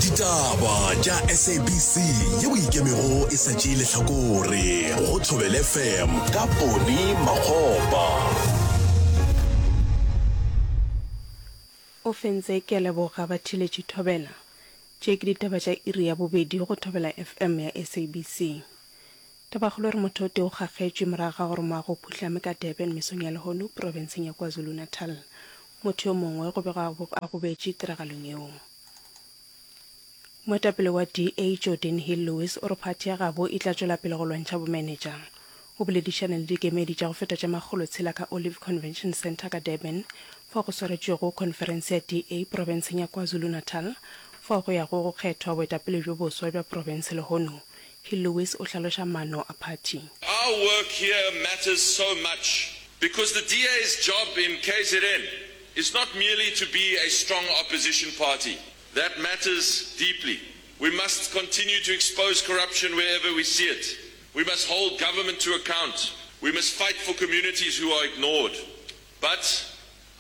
Ditaba tša SABC yeo e ikemego e sa tšee lehlakore go Thobela FM ka Poni Makgopa. O fentse ke a leboga batheeletši Thobela. Tše ke ditaba tša iri ya bobedi go Thobela FM ya SABC. Tabakgolo e re motho o tee o kgakgetšwe morago ga gore moago o phuhlame ka Durban mesong ya lehono profenseng ya KwaZulu-Natal. Motho yo mongwe go begwa a gobetše tiragalong yeo. Moetapele wa DA Geordin Hill-Lewis o re phathi ya gabo e tla tšwela pele go lwantšha bomenetša. O boledišane le dikemedi tša go feta tše makgolotshela ka Olive Convention Centre ka Durban fao go swaretšwego khonferense ya DA profenseng ya KwaZulu-Natal fao go yago go kgethwa boetapele bjo boswa bja profense lehono. Hill-Lewis o hlaloša maano a phathi. Our work here matters so much because the DA's job in KZN is not merely to be a strong opposition party. That matters deeply. We must continue to expose corruption wherever we see it. We must hold government to account. We must fight for communities who are ignored. But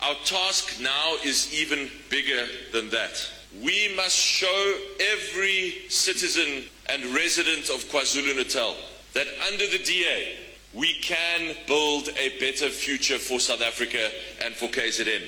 our task now is even bigger than that. We must show every citizen and resident of KwaZulu-Natal that under the DA, we can build a better future for South Africa and for KZN.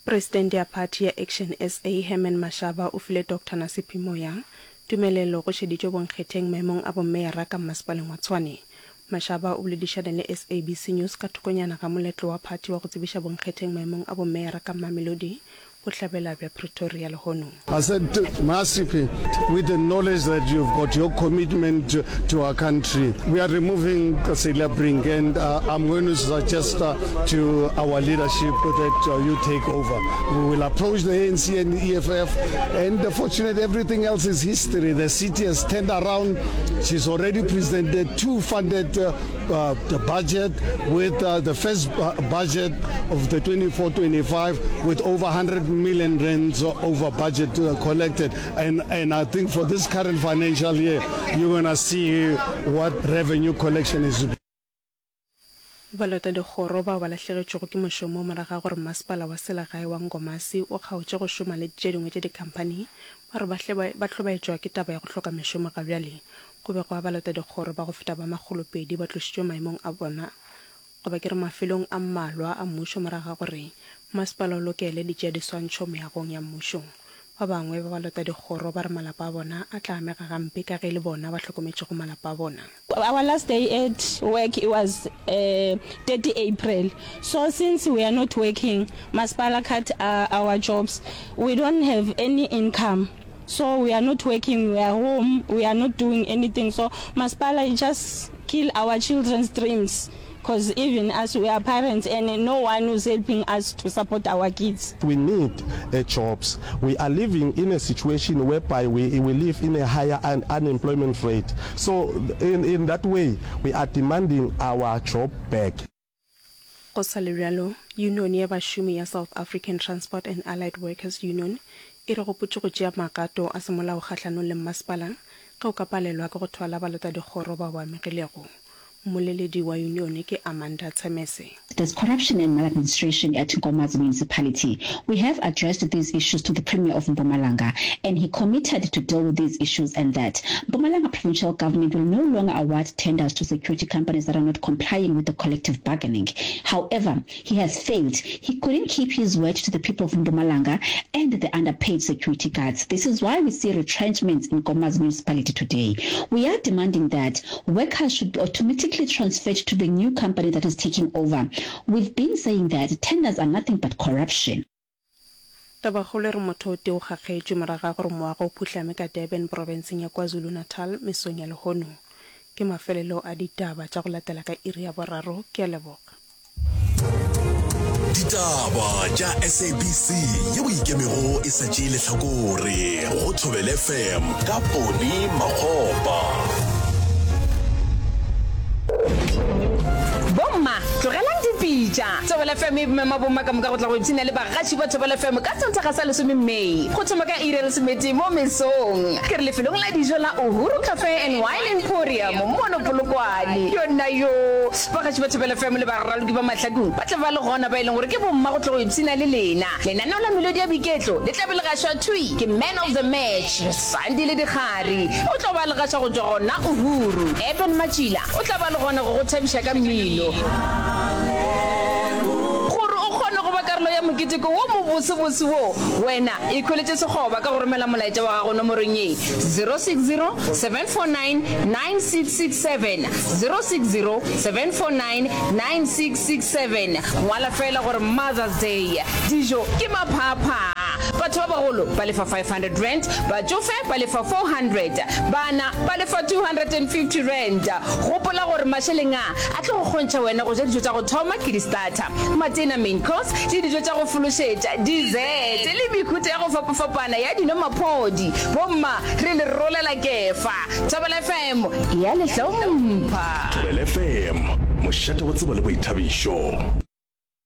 Presidente ya phathi ya Action SA Herman Mashaba o file Doctor Nasiphi Moya tumelelo go šeditšwe bonkgetheng maemong a bommeyara ka mmasepaleng wa Tshwane. Mashaba o boledišane le SABC News ka thokonyana ga moletlo wa phathi wa go tsebiša bonkgetheng maemong a bommeyara ka Mamelodi, bohlabela bja Pretoria lehono. I said, Masipi, with the knowledge that you've got your commitment to, to our country, we are removing Celia Brink, and uh, I'm going to suggest uh, to our leadership that uh, you take over. We will approach the ANC and the EFF, and uh, fortunately, everything else is history. The city has turned around. She's already presented two funded uh, uh, the budget with uh, the first uh, budget of the 24-25 with over 100 million rands over budget uh, collected. And, and I think for this current financial year, you're going to see what revenue collection is. Balotadikgoro bao ba lahlegetšwego ke mošomo morago ga gore masepala wa selegae wa Nkomazi o kgaotše go šoma le tše dingwe tša dikhamphani ba re ba hlobaetšwa ke taba ya go hloka mešomo gabjale. Go begwa balotadikgoro ba go feta ba makgolopedi ba tlošitšwe maemong a bona goba ke re mafelong a mmalwa a mmušo morago ga gore masepala o lokele ditšeadiswantšho meagong ya mmušo. Ba bangwe ba balotadikgoro ba re malapa a bona a tla amega gampe ka ge e le bona ba hlokometšego malapa a bona. Our last day at work it was 30 April so since we are not working masepala cut our jobs we don't have any income so we are not working we are home we are not doing anything so masepala just kill our children's dreams cause even us we are parents and no one who's helping us to support our kids. We need jobs. We are living in a situation whereby we, we live in a higher un unemployment rate. So in, in that way, we are demanding our job back. Go sa le bjalo, yunione ya bašomi ya South African Transport and Allied Workers Union e re gopotše go tšea magato a semolao kgahlanong le mmasepala ge o ka palelwa ke go thwala balotadikgoro bao ba amegilego. Mmoleledi wa yunione ke Amanda Tshemese. There's corruption and maladministration at Nkomazi Municipality. We have addressed these issues to the Premier of Mpumalanga and he committed to deal with these issues and that Mpumalanga provincial government will no longer award tenders to security companies that are not complying with the collective bargaining. However, he has failed. He couldn't keep his word to the people of Mpumalanga and the underpaid security guards. This is why we see retrenchments in Nkomazi Municipality today. We are demanding that workers should be automatically transferred to the new company that is taking over. We've been saying that tenders are nothing but corruption. Tabakgolo e re motho o tee o kgakgetšwe morago ga gore moago o phuhlame ka Durban profenseng ya KwaZulu-Natal mesong ya lehono. Ke mafelelo a ditaba tša go latela ka iri ya boraro. Ke a leboga. Ditaba tša SABC yeo e ikemego e sa tšee lehlakore go Thobela FM ka Poni Makgopa. Bomma, tlogelang dipitša. bitša. Thobela FM e mema bomma ka moka go tla go ipshina le bagaši ba Thobela FM ka Sontaga sa lesome May go thoma ka iri ya lesometee mo mesong. Ke re lefelong la dijo la Uhuru Cafe and Wine Emporium mono Polokwane. Yona yo! Bagaši ba Thobela FM le baraloki ba mahlakong ba tla ba le gona ba e leng gore ke bomma go tla go ipshina le lena. Lenaneo la Melodi ya Boiketlo le tla be le gašwa thwi ke Man of the Match, Sandile Dikgari. O tlo ba le gaša go tšwa gona Uhuru. Eben Matšila o tla ba le gona go go thabiša ka mmino. Gore o kgone go ba karolo ya moketeko wo mobosebose wo, wena ikhweletše sekgoba ka go romela molaetša wa gago nomorong ye, 060 749 9667, 060 749 9667. Ngwala feela gore Mother's Day. Dijo ke maphaaphaa. Batho ba bagolo ba lefa R500, batšofe ba lefa R400, bana ba lefa R250. Gopola gore mašeleng a a tlo go kgontšha wena go ja dijo tša go thoma ke di-starter, matena, main course, le dijo tša go fološetša, dessert, le mehuta ya go fapafapana ya dino maphodi. Bomma, re le rolela kefa. Thobela FM e a le hlompha. Thobela FM, mošate wa tsebo le boithabišo.